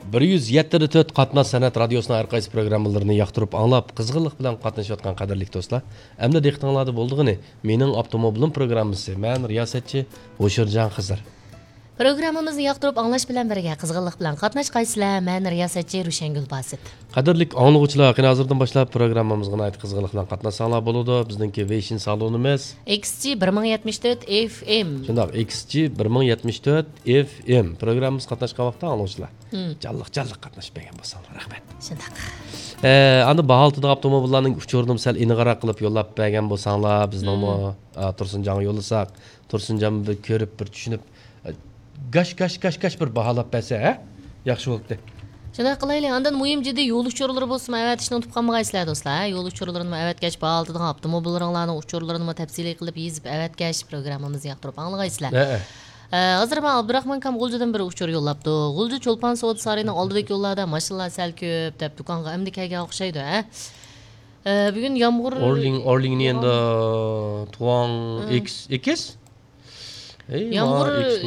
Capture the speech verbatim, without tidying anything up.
بىر يۈز يەتتە دە تۆت قاتناش سەنئەت رادىيوسىنىڭ ھەر قايسى پروگراممىلىرىنى ياقتۇرۇپ ئاڭلاپ، قىزغىنلىق بىلەن قاتنىشىۋاتقان قەدىرلىك دوستلار، ئەمدى دىققىتىڭلاردا بولىدىغىنى مېنىڭ ئاپتوموبىلىم پروگراممىسى. مەن رىياسەتچى ھوشۇرجان خىزىر. پروگراممىمىزنى ياقتۇرۇپ ئاڭلاش بىلەن بىرگە، قىزغىنلىق بىلەن قاتناشقايسىلەر. مەن رىياسەتچى روشەنگۈل باسىت. قەدىرلىك ئاڭلىغۇچىلار، قېنى ھازىردىن باشلاپ پروگراممىمىزغا ناھايىتى قىزغىنلىق بىلەن قاتناشساڭلار بولىدۇ. بىزنىڭكى ۋېيشىن سالونىمىز. ئېكس جى بىر مىڭ يەتمىش تۆت ئېف ئېم. شۇنداق، ئېكس جى بىر مىڭ يەتمىش تۆت ئېف ئېم. پروگراممىمىز قاتناشقان ۋاقىتتا ئاڭلىغۇچىلار. مم. جانلىق، جانلىق قاتنىشىپ بەرگەن بولساڭلار، رەھمەت. شۇنداق. ئە، ئاندىن باھا ئالتىدىغان ئاپتوموبىللارنىڭ ئۇچۇرىنىمۇ سەل ئېنىقراق قىلىپ يوللاپ بەرگەن بولساڭلار، بىزنىڭمۇ، مم. ئا، تۇرسۇنجانغا يوللىساق، تۇرسۇنجان بىر كۆرۈپ، بىر چۈشىنىپ، ئە، گاش، گاش، گاش، گاش بىر باھالاپ بەرسە، ھە؟ ياخشى بولاتتى. شۇنداق قىلايلى. ئاندىن مۇھىم جىددىي يول ئۇچۇرلىرى بولسىمۇ ئەۋەتىشنى ئۇنتۇپ قالمىغايسىلەر، دوستلار. يول ئۇچۇرلىرىنىمۇ ئەۋەتكەچ، باھا ئالتىدىغان ئاپتوموبىللىرىڭلارنىڭ ئۇچۇرلىرىنىمۇ تەپسىلىي قىلىپ يېزىپ ئەۋەتكەچ، پروگراممىمىزنى ياقتۇرۇپ ئاڭلىغايسىلەر. ھەئە. ئە، ھازىر ماڭا ئابدۇراخمان كام غۇلجىدىن بىر ئۇچۇر يوللاپتۇ. غۇلجا چولپان سودا سارىيىنىڭ ئالدىدىكى يوللاردا ماشىنىلار سەل كۆپ دەپ، دۇكانغا ئەمدى كەلگەن ئوخشايدۇ، ھە؟ ئە، بۈگۈن يامغۇر، ئورلىڭ، ئورلىڭنى يامغۇر. ئەمدى تۇغاڭ، ھە. ئېكىس، ئېكىس؟ ئەي، يامغۇر، ماڭا ئېكىس